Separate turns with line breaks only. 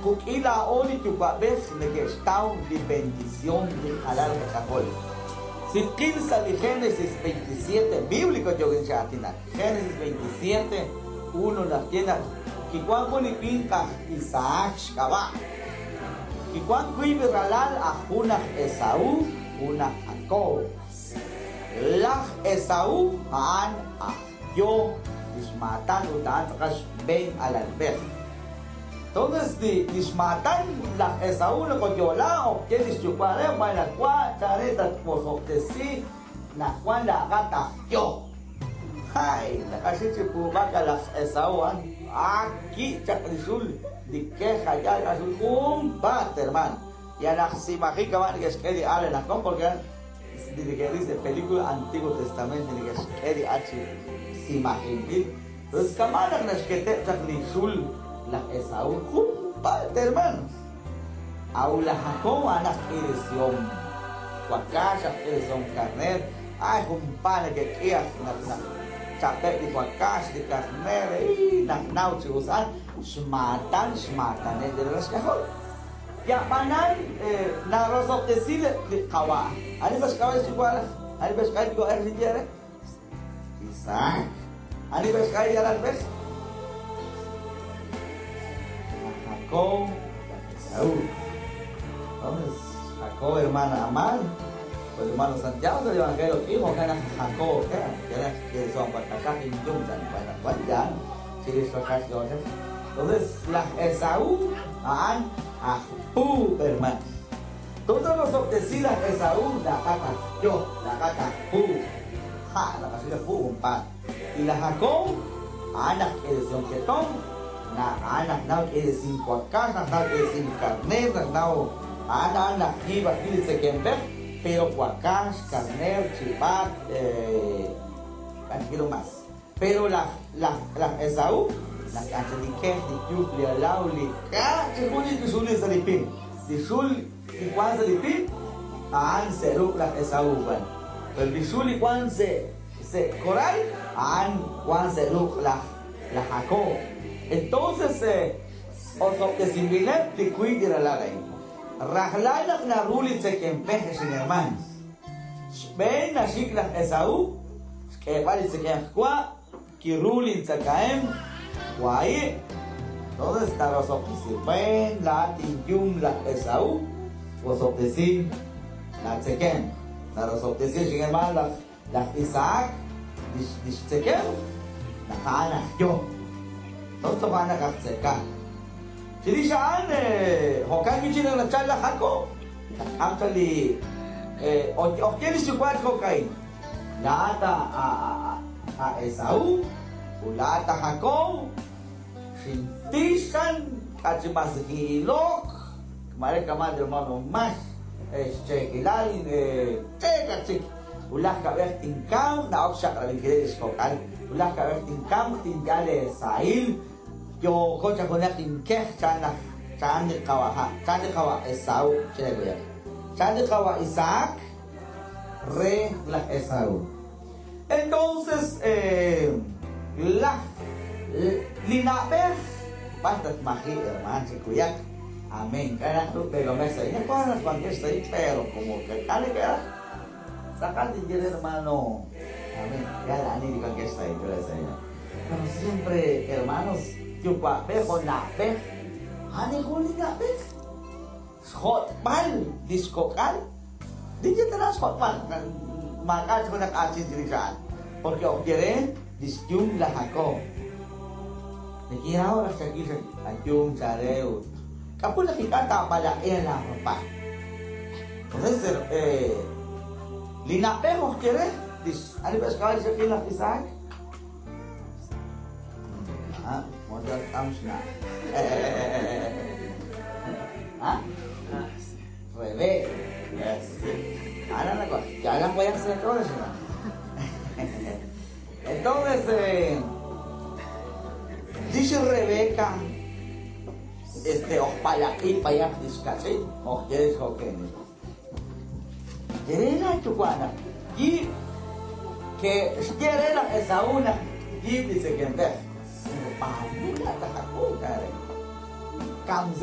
Quk'il laa'o li yuwa'b'ej neke'xtaw li bendición li qalal qak'ajol. Si tqil sa' li Génesis 27, bíblico yookin chi aatinak. Génesis 27, 1 naxye naq kiwan jun li winq aj Isaac xk'ab'a'. Kiwan wiib' ralal aj jun aj Esaú, jun aj Jacob. Laj Esaú a'an aj yo lix maatan ut a'an tz'aqal xb'een alalb'ej. Entonces, lix maatan laj Esaú nakoyo'la okye lix yuwa' re b'alakwa chare tatwosob'tesi naq wan la'aqat aj yo. Hay, naqaxi chi puub'ak laj Esaú an aki chaq li xul li kej allá xul junpaat, hermano. Ya laj simaji kaman neke'xk'e li al naq porque que dice película Antiguo Testamento neke'xk'e li al chi simajinb'il. Entonces, kaman naq naxketeb' chaq li xul laj Esaú junpaat, hermanos. Aw laj Jacob a'an aj k'irisihom wakax, aj k'irisihom karner. Ay, junpaat neke'k'i aj naq naq chapeb' li wakax, li karner, naq naw chi us an xmaatan, xmaatanel de la xk'ajol. Yab'anan narosob'tesi li qawa'. Ani b'ax k'ab'a' xyuwa' ani b'ax k'ab'a' yuwa'ej li yere? Isaac. Ani b'ax k'ab'a' yalalb'ej? Jacob, Esaú. Entonces, Jacob, hermana Amal, pues hermano Santiago del Evangelio, hijo que era Jacob, que era que son Entonces, la Esaú, An, Ajú, hermano. Todos los obtecidas Esaú, la gata, yo, la gata, pu, ja, la casilla pu, un pan. Y la Jacob, Ana, que decía un ketón, na Ana, na que decía cuacá, na que decía carner, na Ana, Ana, jiba, dice que en pero cuacás, carner, chivat, quiero más. Pero la Esaú, la cancha de que, de yuk, de alao, de ka, chihuni, de shuli, salipin. De shul, y cuan salipin, an se la Esaú, van. Pero de shul y cuan se coral, an cuan se la Jacob. Entonces, osobtesimbilet, de cuidar la ley. Rajlalak na ruli tsekempeje sin hermanos. Ven a shikla Esaú, que vale tsekemjkua, kiruli tsakaem, guay. ¿Dónde está los obtecir? Ven la tinyum la Esaú, los obtecir la tsekem. Los obtecir sin hermanos la Isaac, dish tsekem, la jana yo. ¿Dónde van a tseka? Si dice an, hokan kichina la chala Jacob, actually, o quiere su cuarto cocaína. La ata a Esaú, la ata Jacob, Shintishan, Kachimazgilok, Mare Kamal hermano más, Chekilal, Chekachik, Ulaj Kabeh Tinkam, Naok Shakravikiresh Kokal, Ulaj Kabeh Tinkam, Tinkale Sail, Yo cocha con el que chana chani kawa chani kawa Esaú chani kawa Isaac re la Esaú. Entonces la linabej basta maji hermano chikuyak amén carajo pero me se ya con las ahí pero como que tal que sacar de hermano amén ya la ni digan que está ahí pero siempre hermanos yuwa'b'ej o na'b'ej ani jun li na'b'ej xjotb'al li xk'ok'al dijitara xjotb'al maq'ach jun aq'achin chirixa'al porque ojkere lixyum la Jacob neki'raw raj xakil ayum chareu k'apul jik'al ta'palaq'en la papá. Entonces li na'b'ej ojkere ani b'ex k'ab'a' xakil laj Isaac. Ah, modal tamshna. ¿Ah? Rebe. Ahora la cosa. Ya la voy a hacer todo eso. Entonces, dice Rebeca, ojpalaqui payak discachi, ojqueres joquenes. Yerena chucuana. Y que quiere la Esaúna, y dice que en vez.